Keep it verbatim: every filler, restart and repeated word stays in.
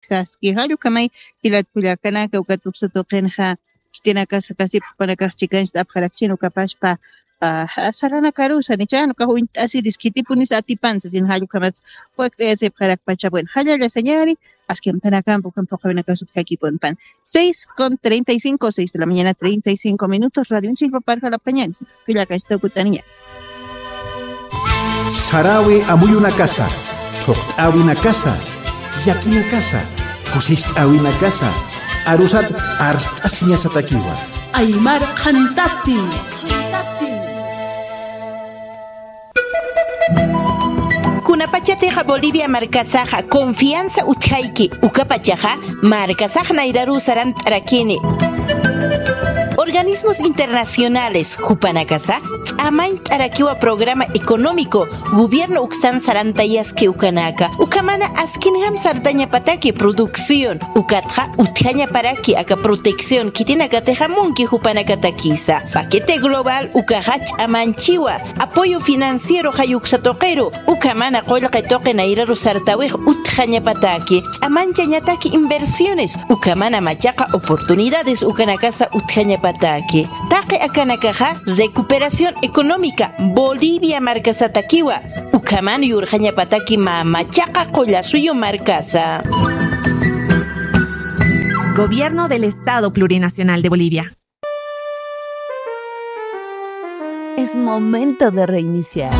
kaski. Jallukhamay jilat kullakanaka, uka tuksa tuqinxa khitinakasa kasipxpanakax chikancht'apxarakchin ukapaspa, ah, saranakarusa nichan ukax uñt'asiris khitipunis atipansa sin jallukhamas wakt'ayasipxarakpacha. Bueno, jallalla sañari, aski amtanakampa ukham phuqhawinakasuk jakipunpan. Seis con treinta y cinco, seis de la mañana, treinta y cinco minutos, radio unchilpa parjalapañani. Kullakanchta ukut'aniña. Sarawi amuyunakasa, thuqt'awinakasa, yakinakasa, kusist'awinakasa, arusat arst'asiñasatakiwa. Aymar qhantatin. Kunapachatixa Bolivia markasaxa confianza utjayki, ukapachaxa markasax nayraru sarant'arakini. Organismos internacionales jupanakasa ch'amañt'arakiwa programa económico gobierno uksan sarantayaski ukanaka, ukhamana askinjam sartañapataki producción, ukatxa utjañaparaki aka protección khitinakatixa munki jupanakatakisa. Paquete global ukaxa ch'amañchiwa apoyo financiero jayuksa tuqiru, ukhamana qullqi tuqi nayraru sartawix utjañapataki, ch'amañchañataki inversiones, ukhamana machaqa oportunidades ukanakasa utjañapataki. Taqi akanakaxa recuperación económica Bolivia markasatakiwa, ukhaman yurxañapataki mä machaqa qullasuyu markasa. Gobierno del Estado Plurinacional de Bolivia. Es momento de reiniciar.